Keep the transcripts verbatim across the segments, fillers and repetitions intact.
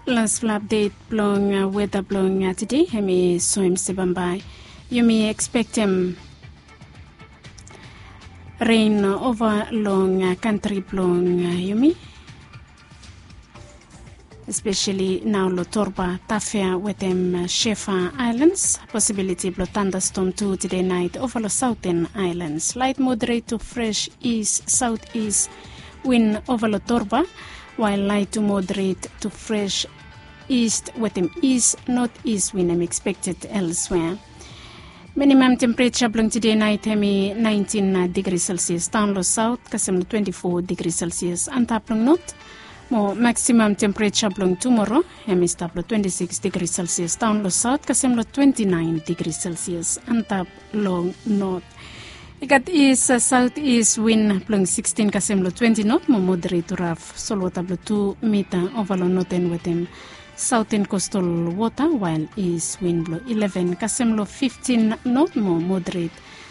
Laspela apdet blong weta blong tide, em i soem se bambae yumi ekspektem ren ova long kantri blong yumi, espeseli nao long Torba, Tafea wetem Shefa Ailans. Posibiliti blong tandastom tu tide nait ova long Sauten Ailans. Lait moderet tu fres is saut is win ova long Torba, wael lait tu moderet tu fres is wetem is not is win em ekspekted elswea. Minimam tempereja blong tide nait em i naentin digri selsias daon long saut kasem long twenti fo digri selsias antap long not. Mo maksimam tempereja blong tumoro em i stap long twenti sikis digri selsias daon long saut kasem long twenti naen digri selsias antap long not. I gat is saut is win blong sikstin kasem long twenti not mo moderet tu raf solwota blong tu mita ova long noten wetem sauten kostal wota, wael is win blong ileven kasem long fiftin not mo moderet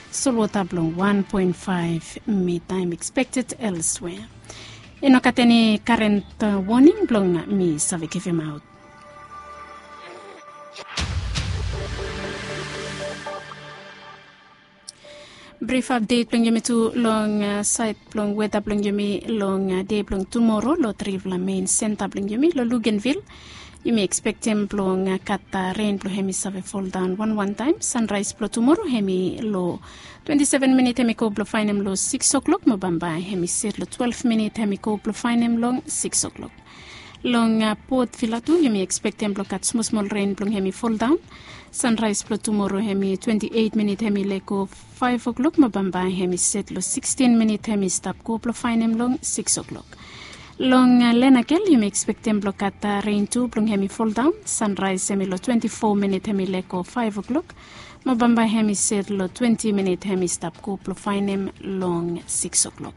solwota blong wan poen faef mita em ekspekted elswea. I no gat eni karen woning blong mi save givimaot. Brif apdet blong yumi tu long sait blong weta blong yumi long de blong tumoro long trifala mein senta blong yumi long Lugenvil. Yumi ekspektem blong gat ren blong hem i save foldaon wanwan taem. Sanraes blong tumoro hem i long twenti seven minit hem i go blong faenem long sikis oklok mo bambae hem i set long twelef minit hem i go blong faenem long sikis oklok. Long Port Vila tu yumi ekspektem blong gat smosmol ren blong hem i foldaon. Sanraes blong tumoro hem i twenti eit minit hem i lego faef oklok mo bambae hem i set long sikstin minit hem i stap go blong faenem long sikis oklok. Long Lenakel yumi ekspektem blong gat ren tu blong hem i foldaon. Sanraes hem i long twenti fo minit hem i lego faef oklok mo bambae hem i set long twenti minit hem i stap go blong faenem long sikis oklok.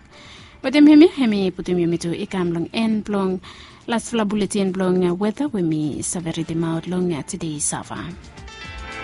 Wetem hemia hem i putum yumi tu i kam long en blong lasfala buletin blong weta we mi save ridimaot long tide sava.